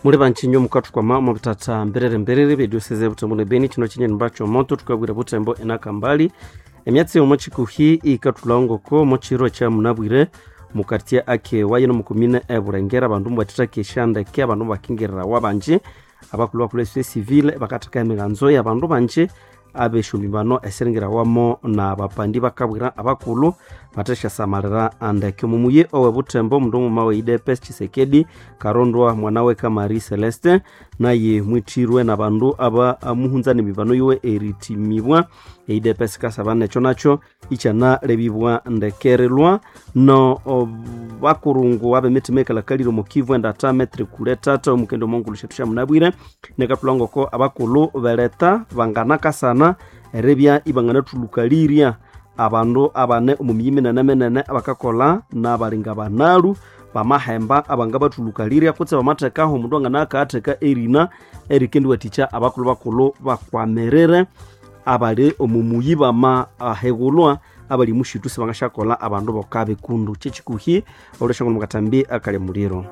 Muli banchinyo mukathukwama omo bithatha mbiriri mbiriri byedyoseze Butembo ne Beni. Kino kinyenimba kyomoto thukabwira Butembo enakambali emyatsi omo kikuhi ikathulhawo ngoko omo kiro ekyamunabwire mukartia akewa yino mukumine ebulengera abandu mubathithaka esyandeke, abandu mubakingirirawa abanji abakulhu bakulhu esyo civil bakatheka emiganzo y'abandu banji abesyombibano esiringirawamu nabapandi bakabwira abakulhu bathasyasamalira andeke. Omumuyi owe Butembo omundu mughuma we UDPS Tshisekedi karondwa mwanawe Kamari Celestin naye mwithirwe nabandu aba amuhunza nemibano yiwe eritimibwa. E UDPS kasaba nekyo nakyo ikyanalebibwa ndekerelwa no bakurungu ab'emitima ekalhakalire omo Kivu endata metricule tata omukendo omongulhu syethu syamunabwire nekathulha ngoko abakulhu beleta banganakasana eribya ibanganathulukalirya abandu abane omu miyi minene minene abakakolha nabalinga banalu bamahemba abangabathulukalirya kutse bamathekaho omundu anganakatheka erina erikendiwathikya abakulhu bakulhu bakwamirire abali omu muyi bamaheghulwa abali mushitu sibangasyakolha abandu boka bikundu. Kyekikuhi olhwesyangulhu mukathambi akali muliro.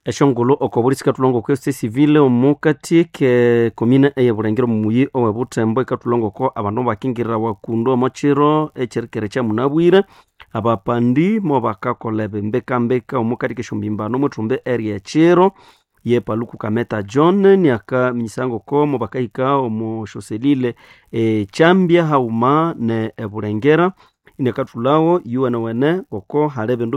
Esyongulhu okobuli sikathulha ngoko esociety civil omukati ke komine eyebulengera omumuyi owe Butembo ikathulha ngoko abandu bakingirirawa kundu omo kiro ekyerikera ekyamunabwire. Abapandi mobakakolha ebimbikambika omukati kesyombimbano omwithumbi eryekiro ye Paluku Kameta John niakaminyisa ngoko mobakahika omo syoselile ekyambya haghuma ne ebulengera inakathulhawo yuwenewene ngoko hali ebindu.